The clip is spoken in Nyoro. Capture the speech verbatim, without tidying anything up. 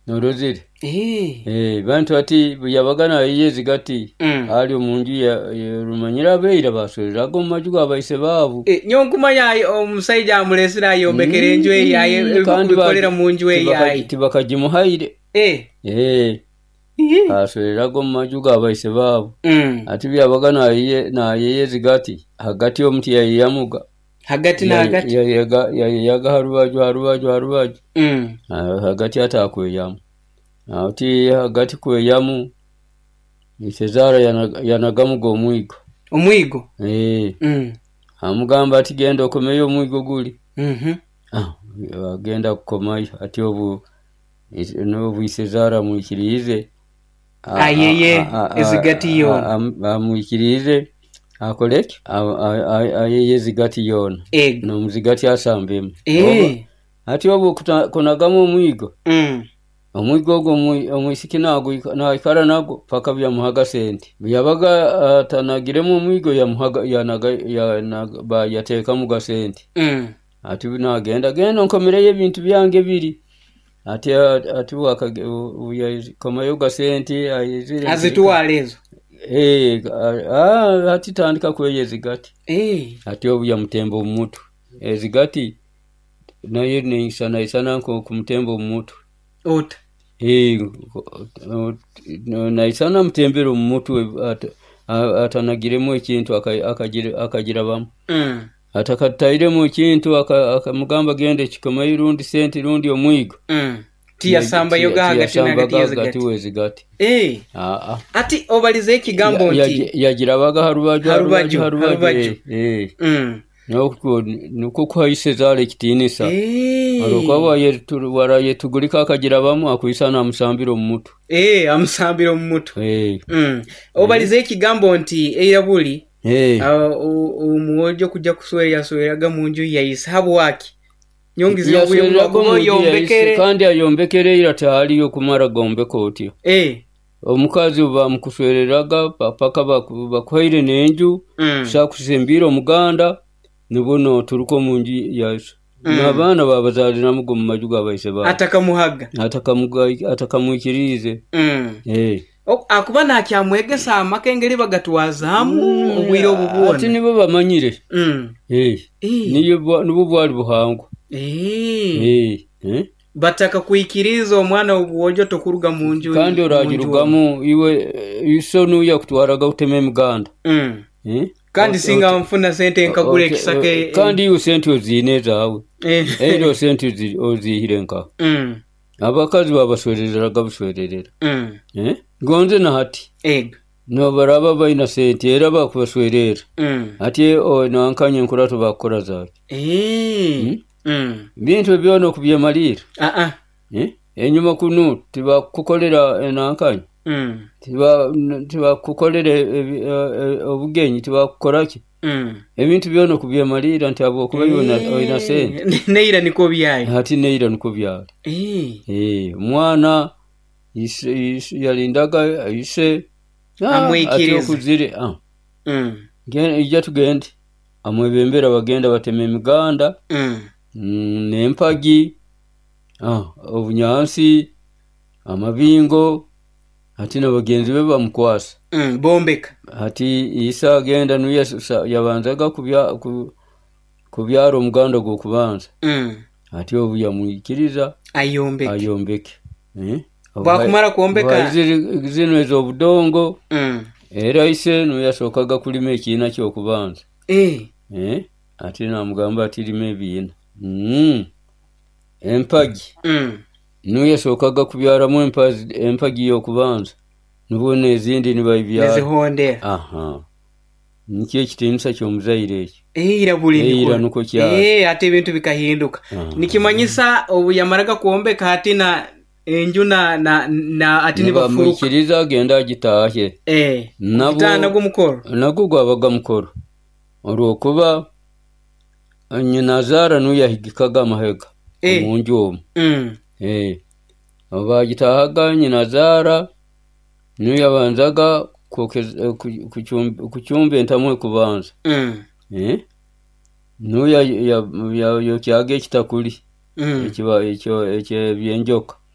Norozire? Eh. Eh, bantu ati yabaga nayiya ezigati Mm. ali omunju ya- ya- rumanyire abeira baswereraga omu maju gabaise baabu. Eh, nyowe nkumanya ayi- omusaija amulesire ayombekere enju eyaye Mm, kandi ba- ebikolera mu nju tibaka- eyaye. Tibakagimuhaire. Eh. Eh, Iye. aswereraga omu maju gabaise baabu. Mm. Ati byabaga nayiye nayiya ezigati hagati omuti yayiyamuga. Hagati na hagati. Yayiyaga yayiyaga harubaju harubaju harubaju. Mm. Ah, hagati atakweyamu, ati hagati kweyamu isezara yanaga- yanagamuga omwigo. Omwigo. Eh, Mm. amugamba ati genda okomeyo omwigo guli. Mhm. Ah, agenda kukomayo ati obu nobu isezara amwikiriize a- Ayeye a- a- a- ezigati yoona. a- am- amwikiriize akoleki ayeye ezigati yoona. Ego. Nomuzigati asambemu. Eh. Ati obu kuta- kunagamu omwigo, Mm. omwigo ogwo omwi- omwisiki nagwika- naikara nagwo paka byamuhaga sente. Byabaga atanagiremu omwigo yamuhaga yanaga yanaga ba- yateekamu ga sente. Mm. Ati nagenda genda nkomereyo ebintu byange biri ati ati yakomayo ga sente ayizire. Azitwala ezo. Eh, ah, ati tandika kweya ezigati. Eh. Ati obu yamutemba omu mutwe ezigati naye neisana isana nko kumutemba omu mutwe. Ota. Eh, naisana mutembere omu mutwe ata- a- atanagiremu ekintu aka- akagira- akagirabamu. Mm. Atakatairemu ekintu aka- akamugamba genda ekikomayo rundi sente rundi omwigo. Mm. Tiyasambayo ga hagati na hagati Tiyasambaga y'ezigati. hagati w'ezigati. Eh. Aa. Ati obalize ekigambo Ya- nti ya- yagirabaga harubaju. Harubaju, harubaju. harubaju. Eh, eh. Mm. Nokwo nukwo kuha isezaara ekitiinisa. Eh. Olwokuba wayetu- warayetugulika akagirabamu akwisana amusambira omu mutwe. Eh, amusambira omu mutwe. Eh, Mm. Obalize ekigambo nti eira buli eh. ah, o- omwojo kujja kuswera yasweraga mu nju yaise habwaki nyongize Yaswereraga omu nju yaise, yombekere. kandi ayombekere ira tihaliyo kumara gombeka otyo. Eh. Omukazi bamukuswereraga pa- paka baku- bakuhaire n'enju. Mm. Sakusembiire omuganda nibwo noturuka omu nju yaiso. Mm. N'abaana babazaaliramuga omu maju gabaise baabo. Atakamuhaga. Atakamuga- atakamwikiriize. Mm. Eh. O- akuba nakyamwegesa amaka engeri bagatwazaamu obwire obu Ati bwona. nibo bamanyire. Mm. Eh. Eh. Niyo bwa- nibwo bwali buhangwa. Eh. Eh. Eh. Bataka kwikiriza omwana obwojo tokuruga mu nju Kandi mu nju oragirugamu iwe eh, iso nuya kutwaraga kutema emiganda. Mm. Eh? Kandi Ot- singa ot- nfuna sente nkagura ot- ekisaka eh, kandi iwe sente oziine ezaawe. Eh. Era sente ozi- oziihire nkaho. Mm. Abakazi babaswerereraga buswererera. Mm. Eh? Gonze na hati Ego. nobaraba baina sente era bakubaswerera. Mm. Ati o- nankanye enkurato bakukora zaaki. Eh. Mm? Mm. Bintu byona okubyemalira. Ah ah. Eh? Enyuma kunu tibakukolera enankanye. Mm. Tiba tibakukolera ebi- e- e- obugenyi tibakukoraki. Mm. Ebintu byona okubyemalira nti habwokuba iwe Eh. oina sente. Neira niko byayi. Hati neira nikwo byali. Eh. Eh, omwana ise, ise, yalindaga ise ah, Amwikiriza. ati okuzire ah, Mm. gen- ija tugende amwebembera bagenda batema emiganda. Mm. Mm, n'empagi ah, obunyansi amabingo ati na bagenzi be bamukwasa. Mm. Bombeka. Ati isa agenda nuye yabanzaga kubya, ku, kubyara omuganda gw'okubanza. Mm. Ati obu yamwikiriza Ayombeke. ayombeke. Eh? Bwakumara kwombeka. Bwaizire zino ez'obudongo. Mm. Era ise nuyasookaga kulima ekiina ky'okubanza. Eh. Eh? Ati namugamba ati lima ebiina. Mm. Empagi. Mm. Nuyasookaga kubyaramu empazi, empagi y'okubanza nibwo n'ezindi nibabibyara. Nezihondera. Aha, nikyo ekitiinisa ky'omuzaire ekyo. Eira buli Eira niko. nukwo kyali. Eh, ate ebintu bikahinduka. Aha. Nikimanyisa obu yamaraga kwombeka hati na enju na na, na ati nibafuruka. Nibamwikiriza agenda agitaahe. Eh. Nabo- Kutaana gw'omukoro. Nagwo gwabaga mukoro olwokuba nyinazaara nuyo yahigikaga amahega Eh. omunju omu. Mm. Eh. Bagitahaga nyinazaara niyo yabanzaga kwokeza- eh, ku- kuchum- kuchumba entamu ekubanza. Mm. Eh? Nuyo yayokyaga ekitakuli. Mm. Ekiba ekyo ekyebyenjoka.